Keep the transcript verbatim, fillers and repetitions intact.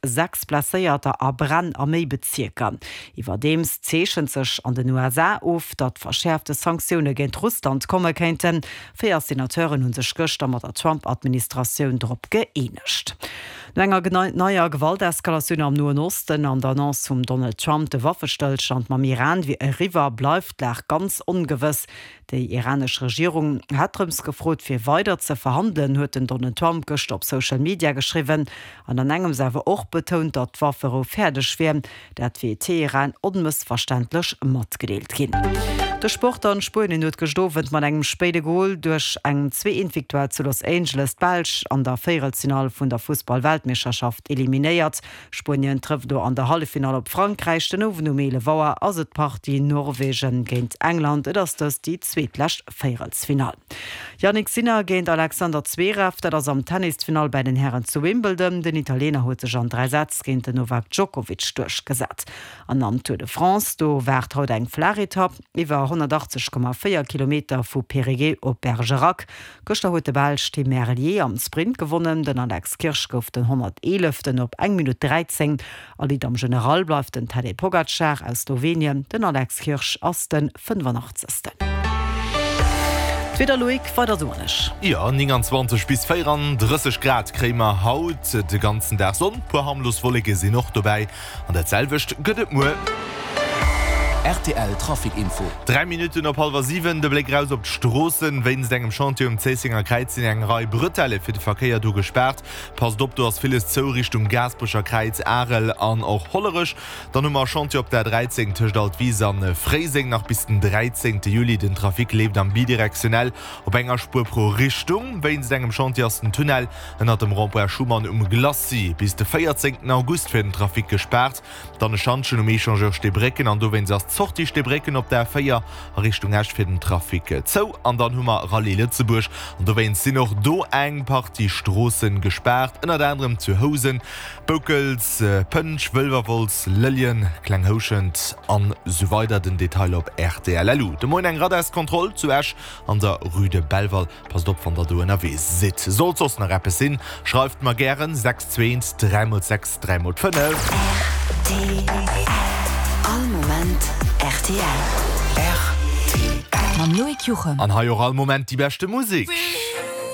sechs Blesséierter a Bränn a méi Bezierker. Iwwerdeems zeechent sech an den U S A of, datt verschäerfte Sanktioune géint Russland komme kéinten. Véier Senateuren hu sech gëschter mat der Trump-Administratioun drop gëeenegt. No enger neier Gewalteskalatioun am Noen Osten an der Annonce vum Donald Trump, de Waffestëllstand mam Iran wier eriwwer, bleift d'Lag ganz ongewëss. Déi iranesch Regierung hat drëms gefrot, fir weider ze verhandelen, huet den Donald Trump gëschter op Social Media geschriwwen an an engems awer och betount, datt d'Wafferou fäerdeg wier. Dat wier Teheran onmëssverständlech matgedeelt ginn. De Sport an Spuenien huet gëschter Owend mat engem spéide Gol duerch eng zwee-eent-Victoire zu Los Angeles d'Belsch an der Véierelsfinall vun der Fussball-Weltmeeschterschaft eliminéiert. Spuenien trëfft do an der Halleffinall op Frankräich. Den Owend um eelef Auer ass et d'Partie Norwegen géint England. Et ass dëst déi zweetlescht Véierelsfinall. Jannik Sinner géint Alexander Zverev, dat ass am Tennisfinall bei den Hären zu Wimbledon. Den Italiener huet sech an dräi Sätz géint den Novak Djokovic duerchgesat. An am Tour de France, do waart haut eng flaach Etapp iwwer honnertachtzeg Komma véier Kilometer vu Périgueux op Bergerac. Gëschter huet de Belsch Tim Merlier am Sprint gewonnen. Den Alex Kirsch gouf den honnerteeleften op eng Minutt dräizéng. A Lead am General bleift den Tadej Pogacar aus Slowenien. Den Alex Kirsch ass den fënnefanachtzegschten. D'Wieder, Loïc, weider sonneg. Jo, nénganzwanzeg bis véierandrësseg Grad kréie mer haut, de ganzen Dag Sonn, puer harmlos Wolleke sinn och dobäi an dat selwecht gëtt et muer. R T L Trafic Info. Dräi Minutten op hallwer siwen, de Bléck raus op d'Stroossen. Wéinst engem Chantier um Zéissenger Kräiz sinn eng Rei Bretelle fir de Verkéier do gespaart. Passt op, do ass villes zou Richtung Gaasperecher Kräiz, Arel an och Hollerech. Dann hu mer e Chantier op der dräizéng tëscht Altwis an Fréiseng nach bis den dräizéngte Juli. Den Trafic leeft am bidirektionell op enger Spuer pro Richtung. Wéinst engem Chantier ass den Tunnel ënnert dem Rond-point Schuman um Glacis bis de véierzéngten August fir den Trafic gespaart. Dann e Schantjen um Echangeur Steebrécken an dowéinst ass d'Sortie Steebrécken op der A véier a Richtung Esch fir den Trafic zou. An dann hu mer Rallye Lëtzebuerg an dowéinst sinn och do eng Partie Stroosse gespaart, ënnert anerem zu Housen, Boukels, Pënsch, Wëlwerwolz, Lëlljen, Kleng Houschent an sou weider. Den Detail op R T L L U. De Moien eng Radarskontroll zu Esch an der Rue de Belval. Passt op, wann der do ënnerwee sidd. Sollt soss nach eppes sinn, schreift mer gären sechs zwee eent dräi mol sechs dräi mol fënnef. All Moment R T L. An hei och all Moment déi beschte Musek.